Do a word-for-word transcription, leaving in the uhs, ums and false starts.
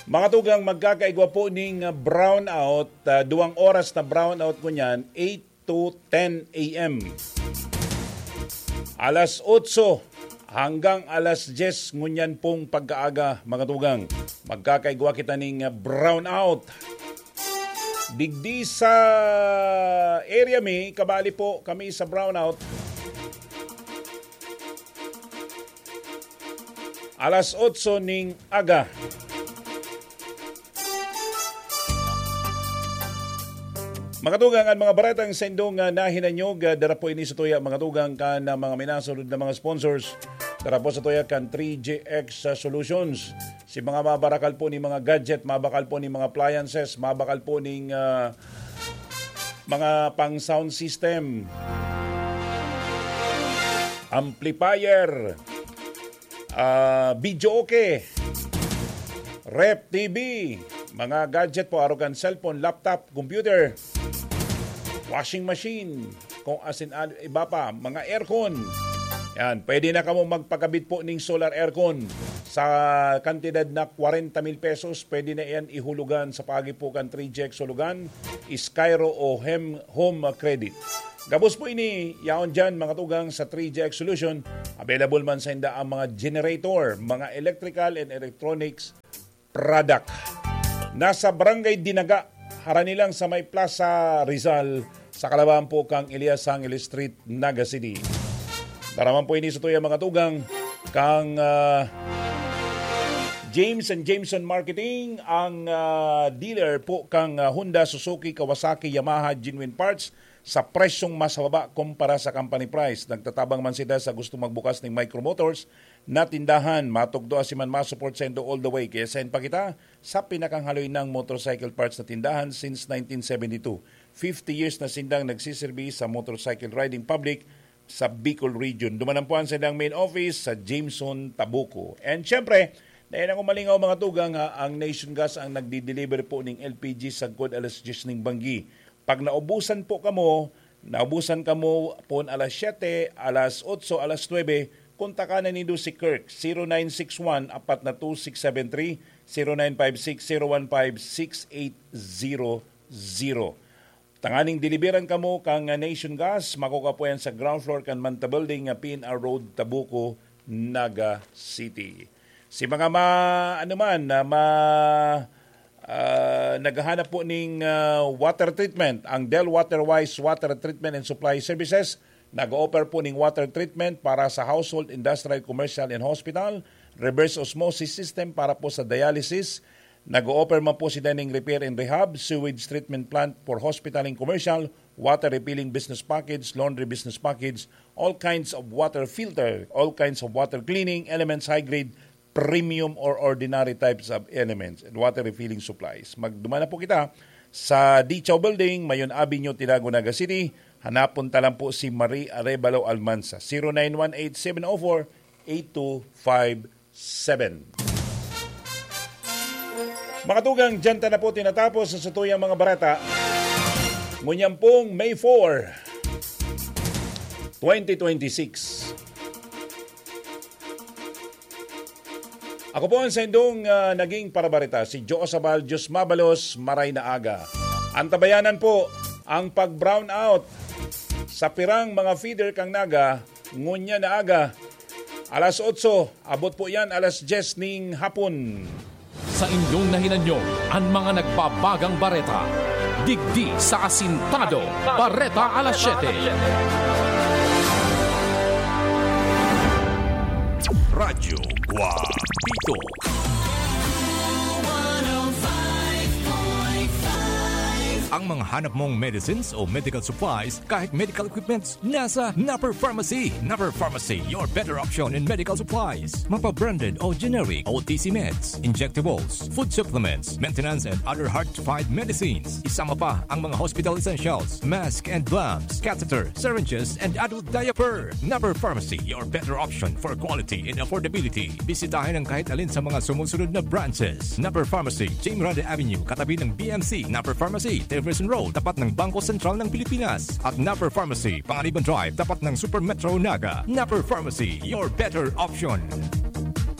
Mga tugang, magkakaigwa po ning, ah, brownout, ah, duwang oras na brownout ngunyan, eight to ten a m. Alas otso hanggang alas dyes ngunyan pong pagkaaga, mga tugang. Magkakaigwa kita ning, ah, brownout. Digdi sa area mi, kabali po kami sa brownout. Alas otso ning aga. Mga tugang, an mga baretang saindong, ah, nahinanyog, ah, dara po ini sa tuya, mga tugang, kan, ah, mga minasunod na mga sponsors. Dara po sa tuya kan three G X, ah, Solutions. Si mga mabarakal po ni mga gadget, mabakal po ni mga appliances, mabakal po ning, ah, mga pang sound system, amplifier, ah, videoke, ref T V, mga gadget po, arog kan cellphone, laptop, computer, washing machine, kung asin an-, iba pa, mga aircon. Yan, pwede na kamo magpakabit po ning solar aircon sa kantidad na kwarenta mil pesos. Pwede na yan ihulugan sa paagi po kan three G X Hulugan, Skyro o Hem Home Credit. Gabos po ini, yaon dyan, mga tugang, sa three G X Solution. Available man sa inda ang mga generator, mga electrical and electronics product. Nasa Barangay Dinaga, harani lang sa may Plaza Rizal, sa kalaban po kang Elias Angel Street, Naga City. Dara man po ini sa tuya, mga tugang, kang, ah, James and Jameson Marketing, ang, ah, dealer po kang, ah, Honda, Suzuki, Kawasaki, Yamaha, genuine parts, sa presyong mas mababa kumpara sa company price. Nagtatabang man sila sa gustong magbukas ning Micro Motors na tindahan. Matugdo asin man ma-support saindo all the way. Kaya send pa kita sa pinakahaloy nang motorcycle parts na tindahan since nineteen seventy-two. Fifty years na sindang nagsiserbi sa motorcycle riding public sa Bicol Region. Duman po ang sailang main office sa Jameson, Tabuco. And syempre, dai na ko malingaw, mga tugang, ha, ang Nation Gas ang nagdi-deliver po ning L P G sagkod alas dyes ning banggi. Pag naubusan po kamo, naubusan kamo pon alas siyete, alas otso, alas nuebe, kontakan na nindo si Kirk, zero nine six one, apat na two six seven three, zero nine five six, zero one five, six eight zero zero. Tanganing deliveran kamo kan Nation Gas, makukua po yan sa ground floor kan Manta Building, P N R Road, Tabuco, Naga City. Si mga ma-, ano man, na ma-, ah, naghahanap po ning, ah, water treatment, ang Del Water Wise Water Treatment and Supply Services, nag-o-offer po ning water treatment para sa household, industrial, commercial, and hospital, reverse osmosis system para po sa dialysis, nag-o-offer man po sila ning repair and rehab, sewage treatment plant for hospital and commercial, water refilling business package, laundry business package, all kinds of water filter, all kinds of water cleaning, elements high grade, premium or ordinary types of elements, and water refilling supplies. Magduman na po kita sa Dichaw Building, Mayon Avenue, Tinago, Naga City. Hanapon ta lang po si Marie Arevalo Almanza, zero nine one eight seven oh four eight two five seven. Mga tugang, dyan ta na po tinatapos sa satuyang mga bareta. Ngunyan pong May four, twenty twenty-six. Ako po ang saindong, ah, naging parabareta, si Joe Sabal, Diyos mabalos, maray na aga. Antabayanan po ang pag-brownout sa pirang mga feeder kang Naga, ngunya na aga, alas otso, abot po yan alas dyes ning hapon. Sa inyong nahinanyo, an mga nagbabagang bareta. Digdi sa Asintado, Bareta Alas Siyete. Radyo Guapito. Ang mga hanap mong medicines o medical supplies, kahit medical equipments, nasa Napper Pharmacy. Napper Pharmacy, your better option in medical supplies. Mapa-branded o generic, O T C meds, injectables, food supplements, maintenance and other hard-to-find medicines. Isama pa ang mga hospital essentials, mask and gloves, catheter, syringes, and adult diaper. Napper Pharmacy, your better option for quality and affordability. Bisitahin ang kahit alin sa mga sumusunod na branches. Napper Pharmacy, Jim Grande Avenue, katabi ng B M C. Napper Pharmacy, Jefferson Road, tapat ng Bangko Sentral ng Pilipinas. At Napper Pharmacy, Panganiban Drive, tapat ng Super Metro Naga. Napper Pharmacy, your better option.